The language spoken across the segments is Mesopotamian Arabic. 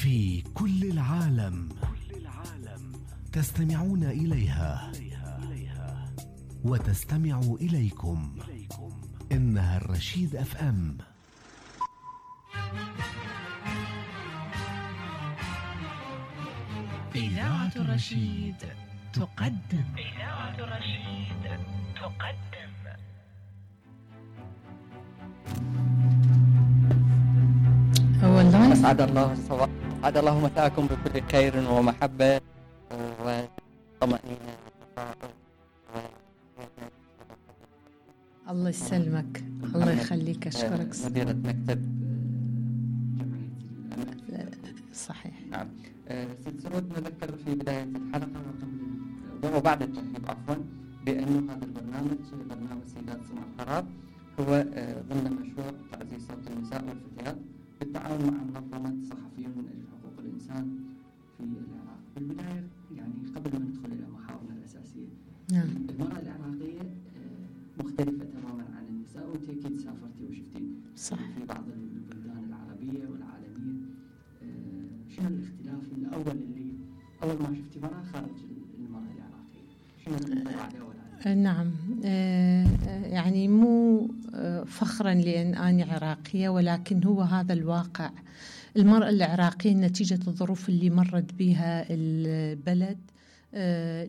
في كل العالم تستمعون إليها وتستمع إليكم. إنها الرشيد اف ام. إذاعة الرشيد تقدم. أسعد الله مساءكم بكل خير ومحبة وطمأنينة. الله يسلمك، الله يخليك، أشكرك. مديرة مكتب جمعية الأمل. صحيح. نعم. ست سعود، نذكر في بداية الحلقة وبعد الترحيب عفوا بأنه هذا البرنامج سيدات سمع القرار هو ضمن مشروع تعزيز صوت النساء والفتيات بالتعاون مع منظمة صحفيون من أجل حقوق الإنسان في العراق. بالبداية يعني قبل ما ندخل إلى محاورنا الأساسية، نعم. المرأة العراقية مختلفة تماما عن النساء، وأنت أكيد سافرتي وشفتي صح. في بعض البلدان العربية والعالمية. شنو الاختلاف الأول اللي أول ما شفتي مرأة خارج المرأة العراقية؟ شنو المنطبع الأول؟ نعم. يعني مو فخرا لأن أنا عراقية، ولكن هو هذا الواقع. المرأة العراقية نتيجة الظروف اللي مرت بها البلد،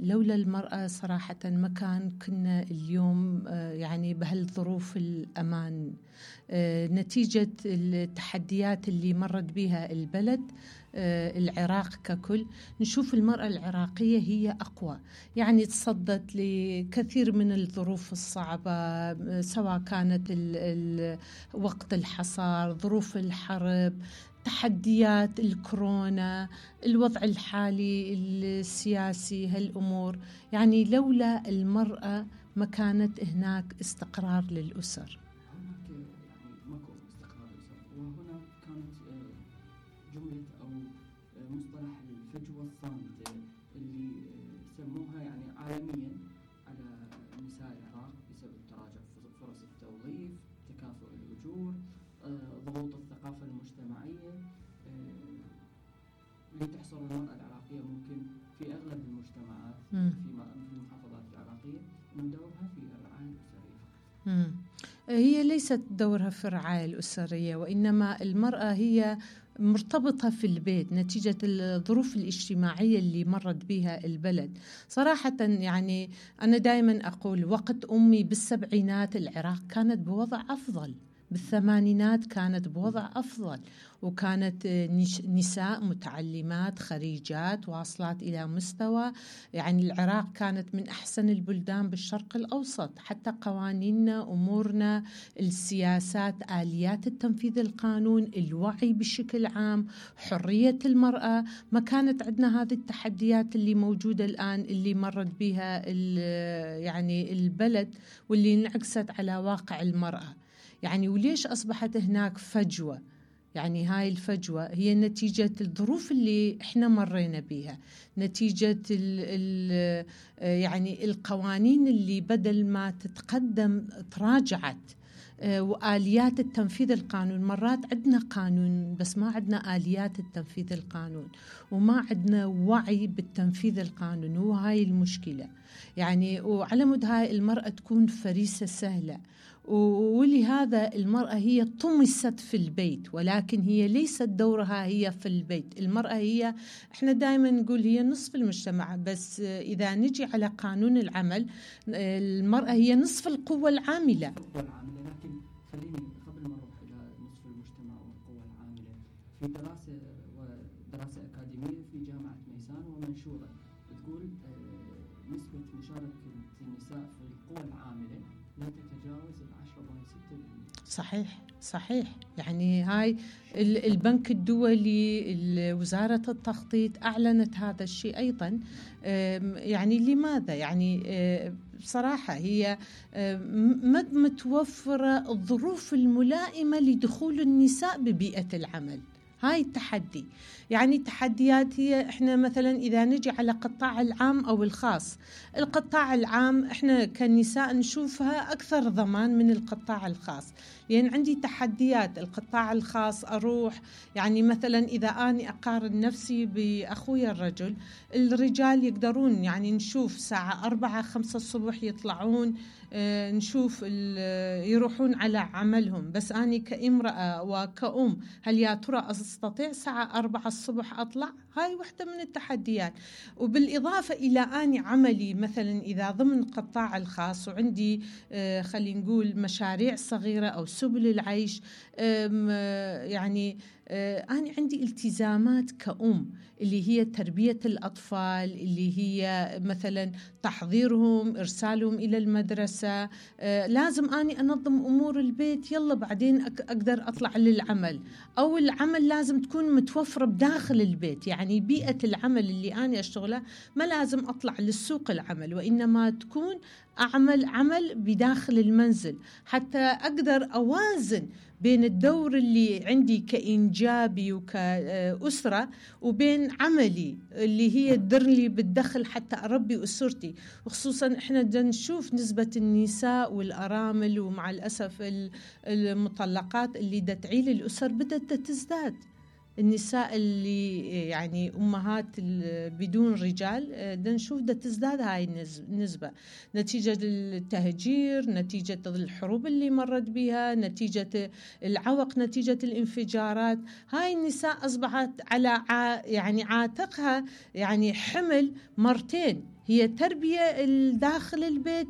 لولا المرأة صراحة ما كنا اليوم يعني بهالظروف الأمان. نتيجة التحديات اللي مرت بها البلد، العراق ككل، نشوف المرأة العراقية هي أقوى، يعني تصدت لكثير من الظروف الصعبة، سواء كانت وقت الحصار، ظروف الحرب، تحديات الكورونا، الوضع الحالي السياسي، هالأمور. يعني لولا المرأة ما كانت هناك استقرار للأسر. يعني ماكو استقرار للأسر، وهنا كانت جملة أو مصطلح الفجوة الصامتة اللي سموها يعني عالميا على نساء العراق بسبب تراجع فرص التوظيف، تكافؤ الأجور، ضغوط الثقافة المجتمعية اللي تحصر المرأة العراقية ممكن في أغلب المجتمعات في المحافظات العراقية من دورها في الرعاية الأسرية. هي ليست دورها في الرعاية الأسرية، وإنما المرأة هي مرتبطة في البيت نتيجة الظروف الاجتماعية اللي مرت بها البلد. صراحة يعني أنا دائما أقول وقت أمي بالسبعينات العراق كانت بوضع أفضل، بالثمانينات كانت بوضع أفضل، وكانت نساء متعلمات خريجات واصلات إلى مستوى، يعني العراق كانت من أحسن البلدان بالشرق الأوسط. حتى قوانيننا، أمورنا، السياسات، آليات التنفيذ القانون، الوعي بشكل عام، حرية المرأة، ما كانت عندنا هذه التحديات اللي موجودة الآن اللي مرت بها يعني البلد، واللي انعكست على واقع المرأة. يعني وليش أصبحت هناك فجوة؟ يعني هاي الفجوة هي نتيجة الظروف اللي احنا مرينا بيها، نتيجة يعني القوانين اللي بدل ما تتقدم تراجعت، وآليات التنفيذ القانون. مرات عندنا قانون بس ما عندنا آليات التنفيذ القانون، وما عندنا وعي بالتنفيذ القانون، وهاي المشكلة. يعني وعلى مود هاي المرأة تكون فريسة سهلة، ولهذا المرأة هي طمست في البيت، ولكن هي ليست دورها هي في البيت. المرأة هي، احنا دائما نقول هي نصف المجتمع، بس إذا نجي على قانون العمل المرأة هي نصف القوة العاملة. لكن خليني قبل ما نروح إلى نصف المجتمع والقوة العاملة، في دراسة أكاديمية في جامعة ميسان ومنشورة بتقول نسبة مشاركة النساء في القوى العاملة لا تتجاوز 10.6%. صحيح. يعني هاي البنك الدولي، وزارة التخطيط أعلنت هذا الشيء أيضا. يعني لماذا؟ يعني بصراحة هي متوفرة الظروف الملائمة لدخول النساء ببيئة العمل. هاي التحدي. يعني التحديات هي احنا مثلا اذا نجي على قطاع العام او الخاص، القطاع العام احنا كنساء نشوفها اكثر ضمان من القطاع الخاص، لان عندي تحديات. القطاع الخاص اروح يعني مثلا اذا اني اقارن نفسي باخويا الرجل، الرجال يقدرون يعني نشوف ساعة 4-5 الصبح يطلعون، نشوف يروحون على عملهم، بس أنا كامرأة وكأم هل يا ترى أستطيع ساعة 4 الصبح أطلع؟ هاي واحدة من التحديات. وبالإضافة إلى أني عملي مثلا إذا ضمن قطاع الخاص وعندي خلينا نقول مشاريع صغيرة أو سبل العيش، يعني أنا عندي التزامات كأم اللي هي تربية الأطفال، اللي هي مثلا تحضيرهم، إرسالهم إلى المدرسة، لازم أني أنظم أمور البيت، يلا بعدين أقدر أطلع للعمل، أو العمل لازم تكون متوفرة بداخل البيت. يعني بيئة العمل اللي أنا أشتغلها ما لازم أطلع للسوق العمل، وإنما تكون أعمل عمل بداخل المنزل حتى أقدر أوازن بين الدور اللي عندي كإنجابي وكأسرة وبين عملي اللي هي تدر لي بالدخل حتى أربي أسرتي. وخصوصا إحنا نشوف نسبة النساء والأرامل ومع الأسف المطلقات اللي تعيل الأسر بدأت تزداد. النساء اللي يعني أمهات بدون رجال نشوف تزداد هاي النسبة نتيجة التهجير، نتيجة الحروب اللي مرت بها، نتيجة العوق، نتيجة الانفجارات. هاي النساء أصبحت على يعني عاتقها يعني حمل مرتين، هي تربية داخل البيت،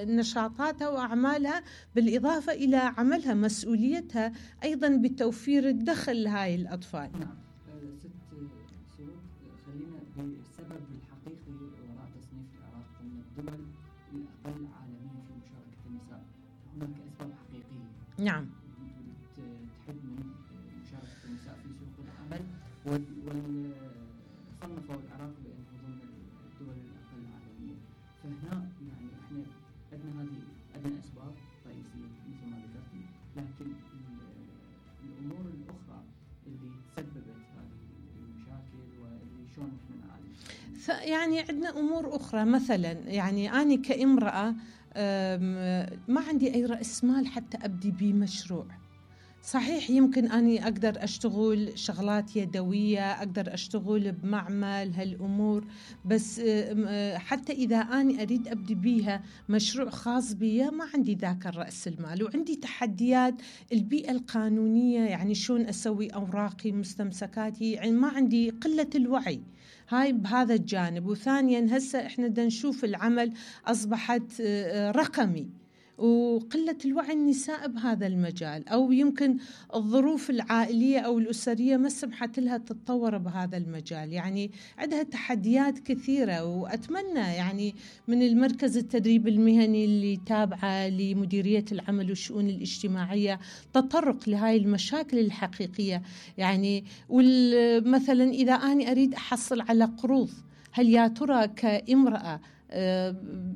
نشاطاتها وأعمالها، بالإضافة إلى عملها مسؤوليتها أيضا بتوفير الدخل لهاي الأطفال. نعم. ست سرور، خلينا بالسبب الحقيقي وراء تصنيف العراق ضمن الدول الأقل عالميا في مشاركة النساء. هناك أسباب حقيقية. نعم. تحد من مشاركة النساء في سوق العمل، وصنفوا العراق بأنه ضمن الدول الأقل عالميا. فهنا يعني احنا عندنا أسباب رئيسية مثل ما ذكرتي، لكن الأمور الأخرى اللي تسببت هذه المشاكل واللي شلون احنا نعالجها. يعني عندنا أمور أخرى، مثلا يعني أنا كامرأة ما عندي أي رأس مال حتى أبدي بمشروع. صحيح يمكن أني أقدر أشتغل شغلات يدوية، أقدر أشتغل بمعمل هالأمور، بس حتى إذا أني أريد أبدي بيها مشروع خاص بي ما عندي ذاك الرأس المال. وعندي تحديات البيئة القانونية، يعني شلون أسوي أوراقي مستمسكاتي، يعني ما عندي قلة الوعي هاي بهذا الجانب. وثانيا هسه إحنا بدنا نشوف العمل أصبحت رقمي، وقلة الوعي النساء بهذا المجال، أو يمكن الظروف العائلية أو الأسرية ما سمحت لها تتطور بهذا المجال. يعني عندها تحديات كثيرة. وأتمنى يعني من المركز التدريب المهني اللي تابعة لمديرية العمل والشؤون الاجتماعية تطرق لهاي المشاكل الحقيقية. يعني مثلا إذا أنا أريد أحصل على قروض، هل يا ترى كامرأة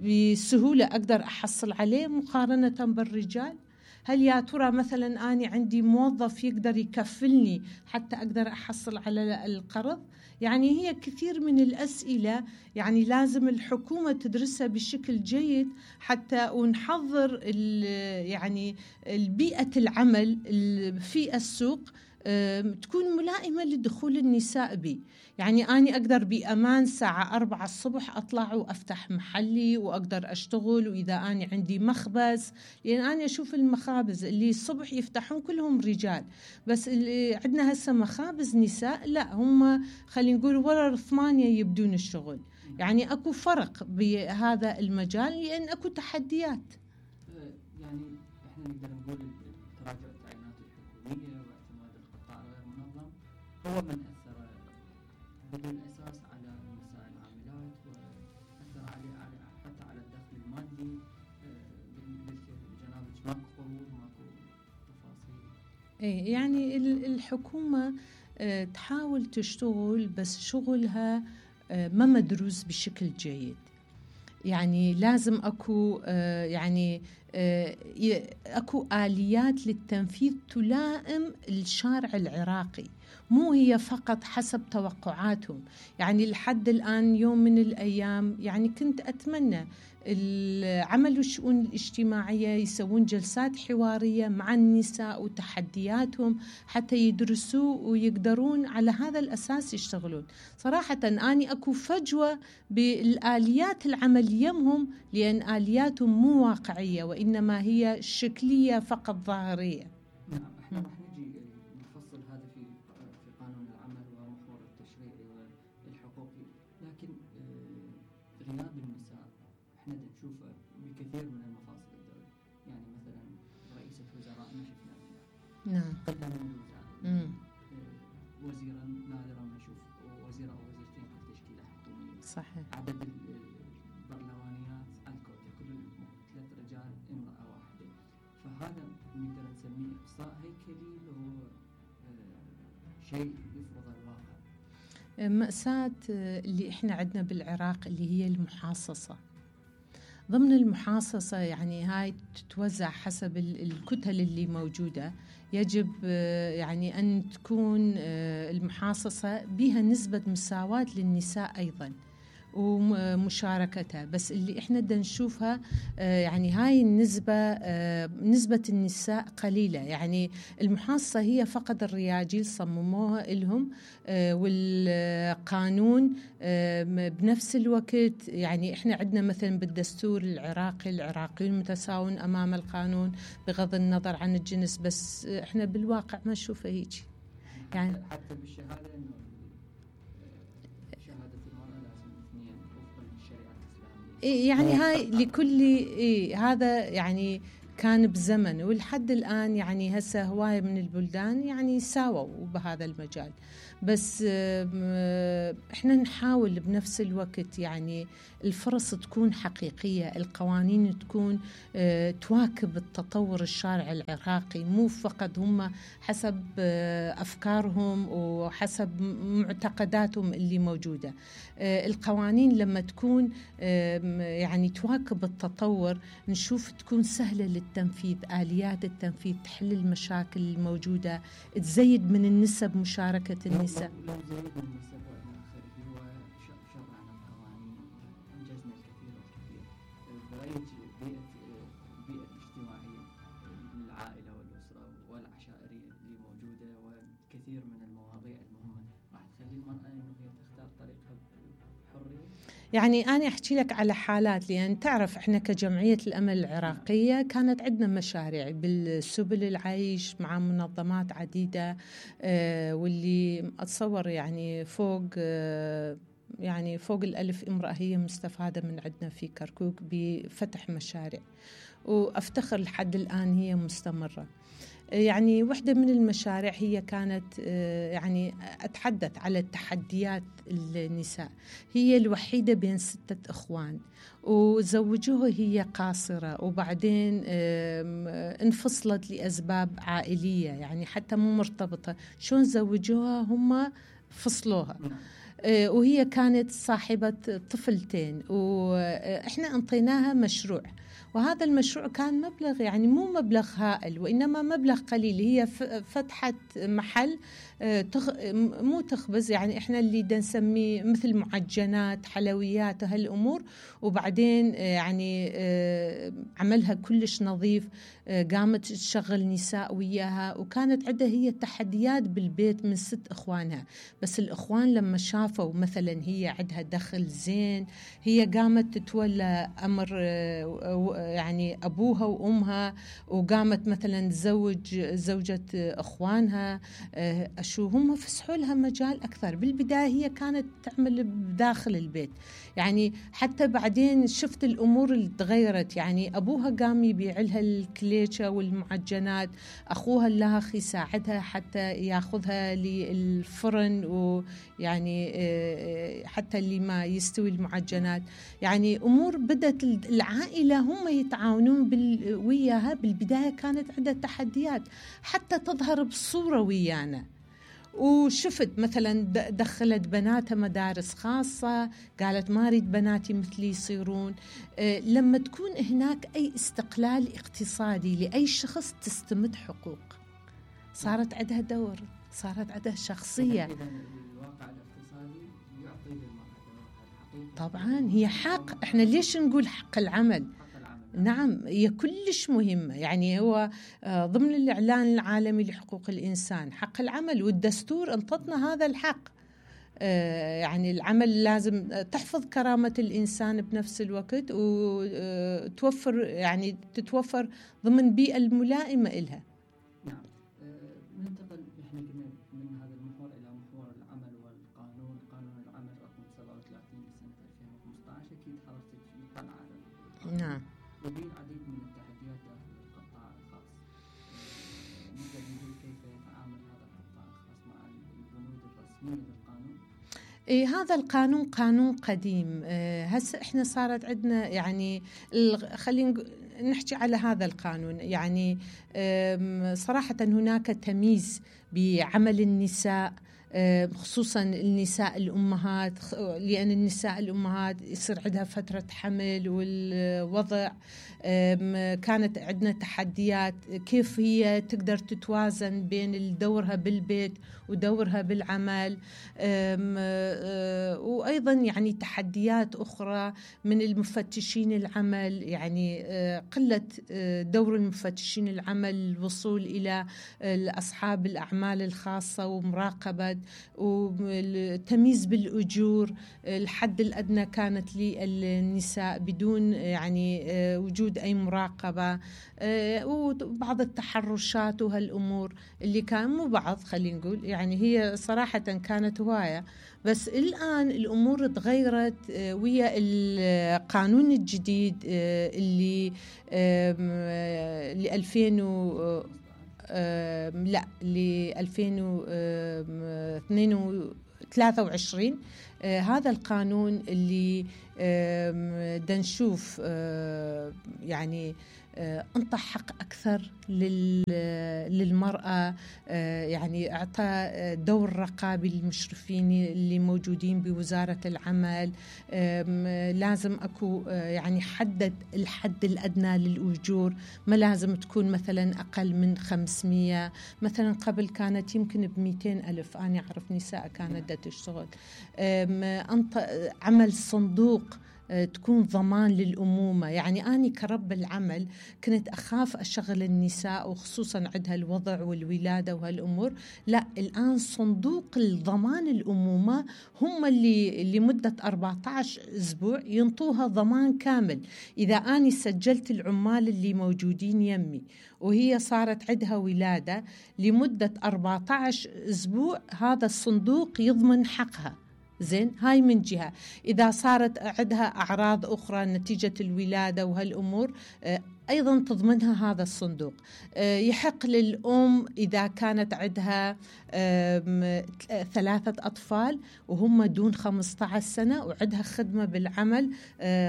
بسهولة أقدر أحصل عليه مقارنة بالرجال؟ هل يا ترى مثلا أنا عندي موظف يقدر يكفلني حتى أقدر أحصل على القرض؟ يعني هي كثير من الأسئلة يعني لازم الحكومة تدرسها بشكل جيد حتى ونحضر يعني البيئة العمل في السوق تكون ملائمة لدخول النساء بي. يعني أنا أقدر بأمان ساعة 4 الصبح أطلع وأفتح محلي وأقدر أشتغل، وإذا أنا عندي مخبز، لأن أنا أشوف المخابز اللي الصبح يفتحون كلهم رجال، بس اللي عندنا هسه مخابز نساء لا، هم خلينا نقول ورا 8 يبدون الشغل. يعني أكو فرق بهذا المجال لأن أكو تحديات. يعني إحنا نقدر نقول تراجع التعيينات الحكومية هو من أثر بالأساس على النساء العاملات، وأثر حتى على الدخل المادي. جنابك ماكو قروض، ماكو تفاصيل. يعني الحكومة تحاول تشتغل، بس شغلها ما مدروس بشكل جيد. يعني لازم أكو يعني أكو آليات للتنفيذ تلائم الشارع العراقي، مو هي فقط حسب توقعاتهم. يعني لحد الآن يوم من الأيام يعني كنت أتمنى عملوا الشؤون الاجتماعية يسوون جلسات حوارية مع النساء وتحدياتهم حتى يدرسوا ويقدرون على هذا الأساس يشتغلون. صراحة أني أكو فجوة بالآليات العمل يمهم، لأن آلياتهم مو واقعية وإنما هي شكلية فقط ظاهرية. نعم، احنا راح نجي نفصل هذا في قانون العمل ومحور التشريعي والحقوقي، لكن غياب النساء احنا نشوفه بكثير من المفاصل الدولة. يعني مثلا رئيسة وزراء ما شفنا نعم قلة من الوزراء، وزيرا نادرا ما نشوف وزير او وزيرتين في تشكيلة حكومية. صحيح. عدد البرلمانيات الكوتا كل 3 رجال امرأة واحدة، فهذا نقدر نسميه إقصاء هيكلي لو شيء يفرض الواقع. مأساة اللي احنا عندنا بالعراق اللي هي المحاصصة. ضمن المحاصصة يعني هاي تتوزع حسب الكتل اللي موجودة، يجب يعني أن تكون المحاصصة بها نسبة مساواة للنساء أيضاً ومشاركتها. بس اللي احنا بدنا نشوفها يعني هاي النسبة، نسبة النساء قليلة. يعني المحاصصة هي فقط الرياجيل صمموها لهم، والقانون بنفس الوقت يعني احنا عندنا مثلا بالدستور العراقي العراقيون متساوون أمام القانون بغض النظر عن الجنس، بس احنا بالواقع ما نشوفه هيك. يعني حتى بالشهادة انه شهادة المرأة لازم 2 وفقا للشريعة الإسلامية. يعني هاي لكل هذا يعني كان بزمن، ولحد الآن يعني هسه هواية من البلدان يعني ساووا بهذا المجال. بس احنا نحاول بنفس الوقت يعني الفرص تكون حقيقية، القوانين تكون تواكب التطور الشارع العراقي، مو فقط هم حسب أفكارهم وحسب معتقداتهم اللي موجودة. القوانين لما تكون يعني تواكب التطور نشوف تكون سهلة للتنفيذ، آليات التنفيذ تحل المشاكل الموجودة، تزيد من النسب مشاركة النساء. لو زيد النسب وشرعنا القوانين أنجزنا الكثير والكثير. برأيك البيئة الاجتماعية للعائلة والأسرة والعشائرية اللي موجودة وكثير من المواضيع المهمة راح تخلي المرأة إنه هي تختار طريقها بحرية؟ يعني أنا أحكي لك على حالات، لأن تعرف إحنا كجمعية الأمل العراقية كانت عندنا مشاريع بالسبل العيش مع منظمات عديدة، واللي أتصور يعني فوق 1000 امرأة هي مستفادة من عندنا في كركوك بفتح مشاريع، وأفتخر لحد الآن هي مستمرة. يعني واحدة من المشاريع هي كانت يعني أتحدث على التحديات النساء. هي الوحيدة بين 6 إخوان، وزوجوها هي قاصرة، وبعدين انفصلت لأسباب عائلية، يعني حتى مو مرتبطة. شون زوجوها؟ هم فصلوها، وهي كانت صاحبة طفلتين، وإحنا أنطيناها مشروع، وهذا المشروع كان مبلغ يعني مو مبلغ هائل وإنما مبلغ قليل. هي فتحت محل مو تخبز، يعني إحنا اللي نسميه مثل معجنات حلويات هالأمور، وبعدين يعني عملها كلش نظيف، قامت تشغل نساء وياها، وكانت عندها هي تحديات بالبيت من 6 إخوانها. بس الإخوان لما شافوا مثلا هي عندها دخل زين، هي قامت تتولى أمر يعني أبوها وأمها، وقامت مثلا تزوج زوجة إخوانها، شو هم فسحوا لها مجال أكثر. بالبداية هي كانت تعمل بداخل البيت، يعني حتى بعدين شفت الأمور اللي تغيرت. يعني أبوها قام يبيع لها الكليشة والمعجنات، أخوها اللاخ يساعدها حتى ياخذها للفرن، ويعني حتى اللي ما يستوي المعجنات. يعني أمور بدت العائلة هم يتعاونون وياها. بالبداية كانت عندها تحديات حتى تظهر بصورة ويانا، وشفت مثلا دخلت بناتها مدارس خاصة، قالت ما أريد بناتي مثلي يصيرون. لما تكون هناك أي استقلال اقتصادي لأي شخص تستمد حقوق، صارت عندها دور، صارت عندها شخصية. الواقع الاقتصادي يعطي للمرأة دورها الحقيقي. طبعا هي حق، احنا ليش نقول حق العمل؟ نعم هي كلش مهمة، يعني هو ضمن الإعلان العالمي لحقوق الإنسان حق العمل، والدستور انطتنا هذا الحق. يعني العمل لازم تحفظ كرامة الإنسان بنفس الوقت، وتوفر يعني تتوفر ضمن بيئة الملائمة إلها. نعم. ننتقل نحن قلنا من هذا المحور إلى محور العمل والقانون. قانون العمل رقم 37 لسنة 2015 أكيد حضرتك مطلعة. نعم. لديه العديد من التحديات داخل القطاع الخاص. نقدر نقول كيف يتعامل هذا القطاع الخاص مع البنود الرسمية للقانون؟ هذا القانون قانون قديم. هسه احنا صارت عندنا يعني خلينا نحكي على هذا القانون. يعني صراحة هناك تمييز بعمل النساء، خصوصا النساء الأمهات، لأن النساء الأمهات يصير عندها فترة حمل والوضع. كانت عندنا تحديات كيف هي تقدر تتوازن بين دورها بالبيت ودورها بالعمل، وأيضا يعني تحديات أخرى من المفتشين العمل، يعني قلة دور المفتشين العمل، الوصول إلى أصحاب الأعمال الخاصة ومراقبة والتمييز بالأجور. الحد الأدنى كانت للنساء بدون يعني وجود أي مراقبة، وبعض التحرشات وهالأمور اللي كان مو بعض، خلينا نقول يعني هي صراحة كانت هواية. بس الآن الأمور تغيرت ويا القانون الجديد اللي ل 2023. هذا القانون اللي دنشوف يعني انطى حق أكثر للمرأة، يعني أعطى دور رقابي للمشرفين اللي موجودين بوزارة العمل. لازم أكو يعني حدد الحد الأدنى للأجور، ما لازم تكون مثلا أقل من 500. مثلا قبل كانت يمكن ب200,000، أنا أعرف نساء كانت تشتغل. عمل صندوق تكون ضمان للأمومة. يعني أنا كرب العمل كنت أخاف أشغل النساء، وخصوصا عندها الوضع والولادة وهالأمور. لا، الآن صندوق الضمان الأمومة هم اللي لمدة 14 أسبوع ينطوها ضمان كامل. إذا أنا سجلت العمال اللي موجودين يمي وهي صارت عندها ولادة لمدة 14 أسبوع، هذا الصندوق يضمن حقها. زين، هاي من جهة. إذا صارت عندها أعراض أخرى نتيجة الولادة وهالأمور أيضا تضمنها هذا الصندوق. يحق للأم إذا كانت عندها 3 أطفال وهم دون 15 سنة وعندها خدمة بالعمل،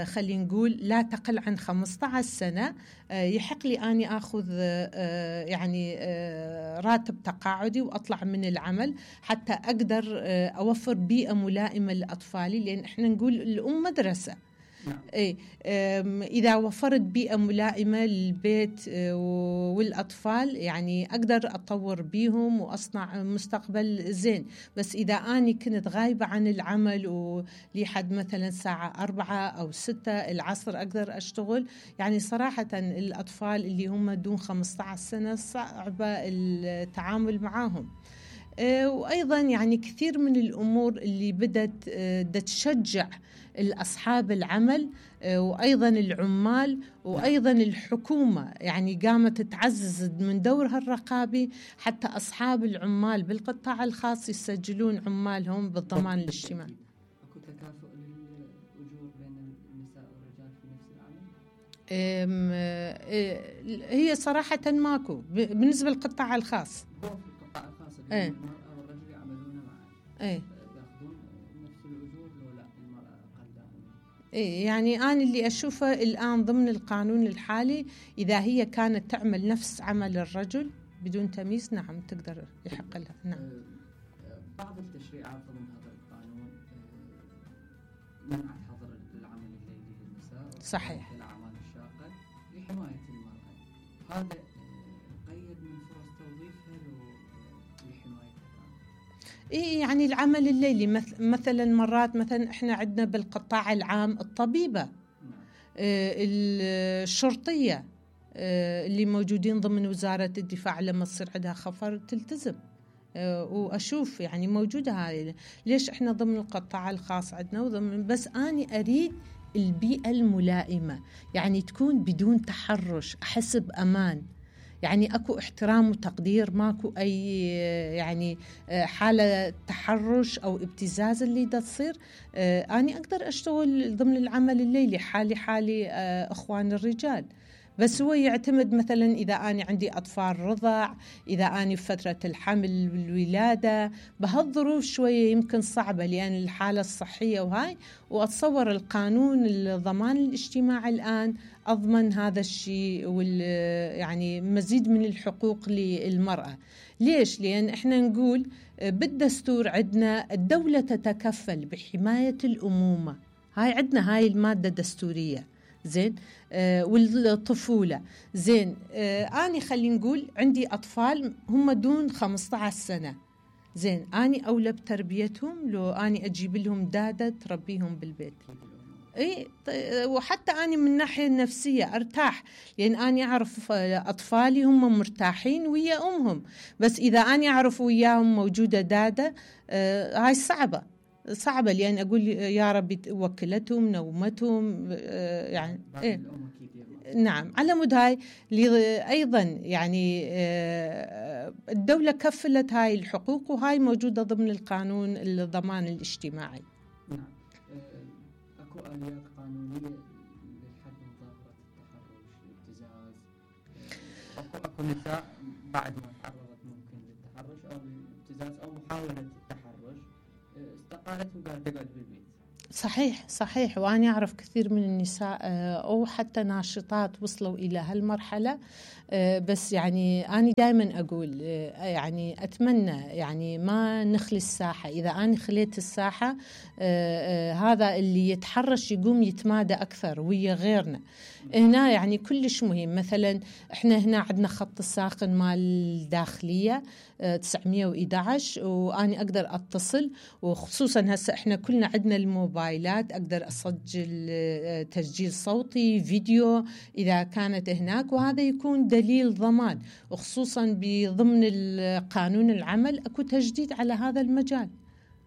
خلينا نقول لا تقل عن 15 سنة، يحق لي أني أخذ يعني راتب تقاعدي وأطلع من العمل حتى أقدر أوفر بيئة ملائمة لأطفالي، لأن إحنا نقول الأم مدرسة. إيه، إذا وفرت بيئة ملائمة للبيت والأطفال يعني أقدر أطور بيهم وأصنع مستقبل زين. بس إذا أنا كنت غايبة عن العمل ولحد مثلا الساعة 4 أو 6 العصر أقدر أشتغل، يعني صراحة الأطفال اللي هم دون 15 سنة صعبة التعامل معهم. وأيضا يعني كثير من الأمور اللي بدت تشجع الأصحاب العمل وأيضا العمال وأيضا الحكومة، يعني قامت تعزز من دورها الرقابي حتى أصحاب العمال بالقطاع الخاص يسجلون عمالهم بالضمان الاجتماعي. أكو تكافؤ للأجور بين النساء والرجال في نفس العمل؟ هي صراحة ماكو بالنسبة للقطاع الخاص. القطاع الخاص المرأة والرجل يعملون معا، يأخذون نفس الأجور لو لا المرأة أقل. يعني أنا اللي أشوفه الآن ضمن القانون الحالي، إذا هي كانت تعمل نفس عمل الرجل بدون تمييز، نعم تقدر يحق لها. نعم. بعض التشريعات ضمن هذا القانون منعت حظر العمل الليلي للنساء صحيح. الأعمال الشاقة لحماية المرأة. هذا قيد من فرص توظيفها لحمايتها. إيه يعني العمل الليلي مثلا مرات مثلا احنا عندنا بالقطاع العام الطبيبة، الشرطية اللي موجودين ضمن وزارة الدفاع لما تصير عندها خفر تلتزم، وأشوف يعني موجودة هاي. ليش إحنا ضمن القطاع الخاص عندنا وضمن، بس أنا أريد البيئة الملائمة، يعني تكون بدون تحرش، أحس بأمان، يعني أكو احترام وتقدير، ماكو أي يعني حالة تحرش أو ابتزاز اللي دا تصير. أنا أقدر أشتغل ضمن العمل الليلي حالي أخوان الرجال، بس هو يعتمد مثلا إذا أنا عندي أطفال رضع، إذا أنا في فترة الحمل والولادة، بهالظروف شوية يمكن صعبة لأن الحالة الصحية وهاي. وأتصور القانون الضمان الاجتماعي الآن أضمن هذا الشيء يعني مزيد من الحقوق للمرأة. ليش؟ لأن إحنا نقول بالدستور عندنا الدولة تتكفل بحماية الأمومة، هاي عندنا هاي المادة الدستورية، زين. والطفولة، زين. أنا خلينا نقول عندي أطفال هم دون 15 سنة، زين. أنا أولى بتربيتهم لو أنا أجيب لهم دادة تربيهم بالبيت. إيه، وحتى أنا من الناحية النفسية أرتاح، لأن أنا أعرف أطفالي هم مرتاحين ويا أمهم. بس إذا أنا أعرف وياهم موجودة دادة، هاي صعبة لأن أقول يا ربي وكلتهم نومتهم، يعني إيه. نعم، على مود هاي أيضا يعني الدولة كفلت هاي الحقوق، وهاي موجودة ضمن القانون الضمان الاجتماعي. نعم. أكو آليات قانونية للحد من ظاهرة التحرش، الابتزاز. أكو نساء بعد ما تعرضت ممكن للتحرش أو الابتزاز أو محاولة التحرش استقالت وقالت تقعد بالبيت. صحيح. وأنا أعرف كثير من النساء أو حتى ناشطات وصلوا إلى هالمرحلة. بس يعني أنا دائما أقول يعني أتمنى يعني ما نخلي الساحة. إذا أنا خليت الساحة هذا اللي يتحرش يقوم يتمادى أكثر ويا غيرنا. هنا يعني كلش مهم. مثلا إحنا هنا عندنا خط الساخن مال الداخلية 911، وأنا أقدر أتصل، وخصوصا هسه إحنا كلنا عندنا الموبايلات، أقدر أسجل تسجيل صوتي فيديو إذا كانت هناك، وهذا يكون دليل ضمان. وخصوصا بضمن قانون العمل أكو تجديد على هذا المجال.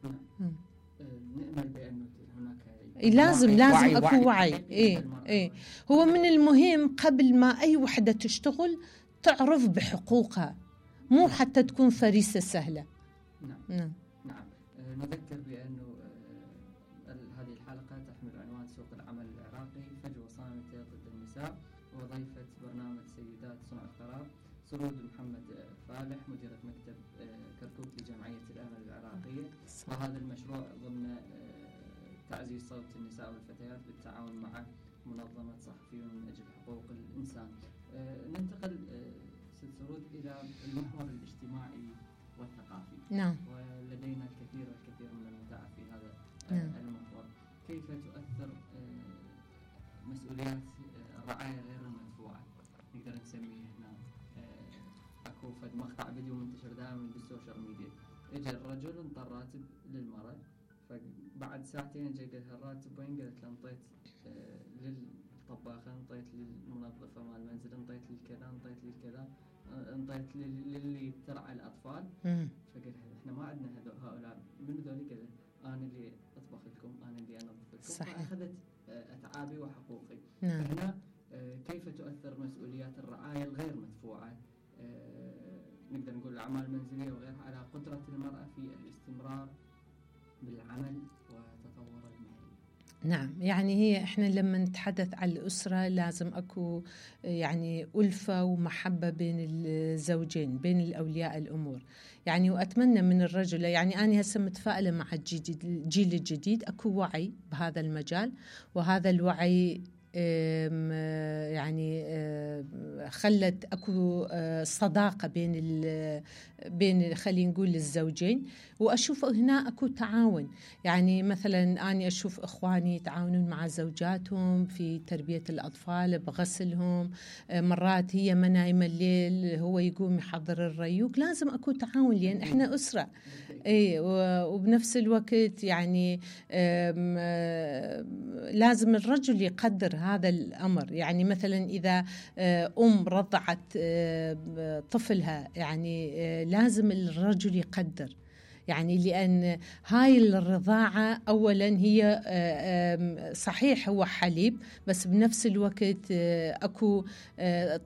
نأمل بأنه هناك لازم أكو وعي. إيه. هو من المهم قبل ما أي وحدة تشتغل تعرف بحقوقها، مو حتى تكون فريسة سهلة. نعم. نذكر بأنه هذه الحلقة تحمل عنوان سوق العمل العراقي، فجوة صامتة ضد النساء، وضيفة برنامج سيدات صنع القرار سرود محمد فالح، مديرة مكتب كركوك لجمعية الأمل العراقية. وهذا المشروع ضمن تعزيز صوت النساء والفتيات بالتعاون مع منظمة صحفيون من أجل حقوق الإنسان. ننتقل ست سرود إلى المحور الاجتماعي والثقافي. نعم. ولدينا الكثير من المتعة في هذا المحور. كيف تؤثر مسؤوليات الرعاية غير المدفوعة، نقدر نسميه هنا، أكو فد مقطع فيديو منتشر دائما بالسوشيال ميديا، اجى الرجل انطى راتب للمرأة، فبعد ساعتين اجى قال الراتب وين؟ قالت له انطيت للطباخة، انطيت للمنظفة مال المنزل، انطيت للكذا، انطيت للكذا، انطيت للي ترعى الأطفال. فقال احنا ما عندنا هؤلاء، من ذولي؟ كذا أنا اللي أطبخ لكم، أنا اللي أنظف لكم. صحيح. فأخذت أتعابي وحقوقي. نعم. فهنا كيف تؤثر مسؤوليات الرعاية الغير مدفوعة، نقدر نقول الأعمال المنزلية وغيرها، على قدرة المرأة في الاستمرار بالعمل وتطور المهني؟ نعم، يعني هي احنا لما نتحدث عن الأسرة لازم أكو يعني ألفة ومحبة بين الزوجين، بين الأولياء الأمور يعني. وأتمنى من الرجل، يعني أنا هسه متفائلة مع الجيل الجديد، أكو وعي بهذا المجال، وهذا الوعي يعني خلت اكو صداقة بين خلينا نقول الزوجين، واشوف هنا اكو تعاون. يعني مثلا اني اشوف اخواني يتعاونون مع زوجاتهم في تربية الاطفال، بغسلهم، مرات هي ما نايمة الليل هو يقوم يحضر الريوق، لازم اكو تعاون لان احنا اسرة. اي وبنفس الوقت يعني لازم الرجل يقدر هذا الامر. يعني مثلا اذا رضعت طفلها، يعني لازم الرجل يقدر، يعني لأن هاي الرضاعة أولا هي صحيح هو حليب، بس بنفس الوقت أكو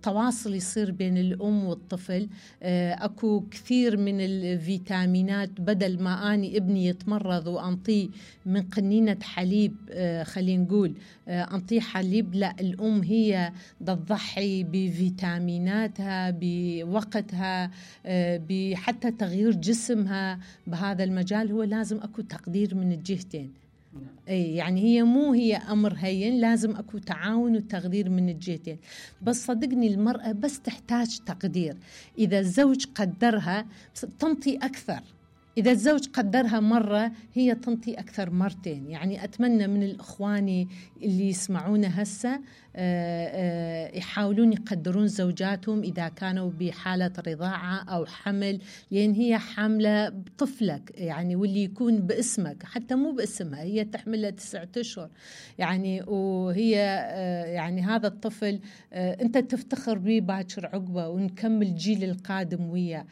تواصل يصير بين الأم والطفل، أكو كثير من الفيتامينات. بدل ما أني ابني يتمرض وأنطيه من قنينة حليب، خلينا نقول أنطيه حليب، لا، الأم هي تضحي بفيتاميناتها، بوقتها، بحتى تغيير جسمها. بهذا المجال هو لازم أكو تقدير من الجهتين. يعني هي أمر هين، لازم أكو تعاون وتقدير من الجهتين. بس صدقني المرأة بس تحتاج تقدير. إذا الزوج قدرها تنطي أكثر، إذا الزوج قدرها مرة هي تنطي أكثر مرتين. يعني أتمنى من الإخواني اللي يسمعونا هسه يحاولون يقدرون زوجاتهم إذا كانوا بحالة رضاعة أو حمل، لأن هي حاملة بطفلك يعني، واللي يكون باسمك، حتى مو باسمها، هي تحملها 9 أشهر يعني، وهي يعني هذا الطفل أنت تفتخر به باكر عقبه، ونكمل جيل القادم وياه.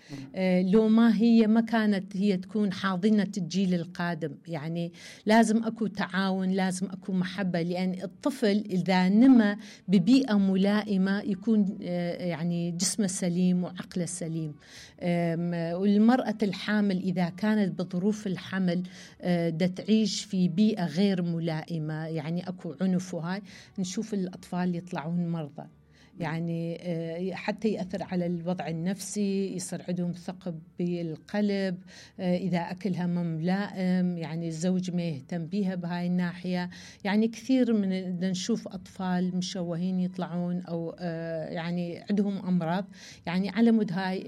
لو ما كانت هي تكون حاضنة الجيل القادم. يعني لازم أكو تعاون، لازم أكو محبة، لأن الطفل إذا نمى ببيئة ملائمة يكون يعني جسمه سليم وعقله سليم. والمرأة الحامل إذا كانت بظروف الحمل دا تعيش في بيئة غير ملائمة، يعني أكو عنف، وهاي نشوف الأطفال يطلعون مرضى. يعني حتى يأثر على الوضع النفسي، يصير عندهم ثقب بالقلب، إذا أكلها ما ملائم، يعني الزوج ما يهتم بيها بهاي الناحية. يعني كثير من نشوف أطفال مشوهين يطلعون، أو يعني عندهم أمراض، يعني على مود هاي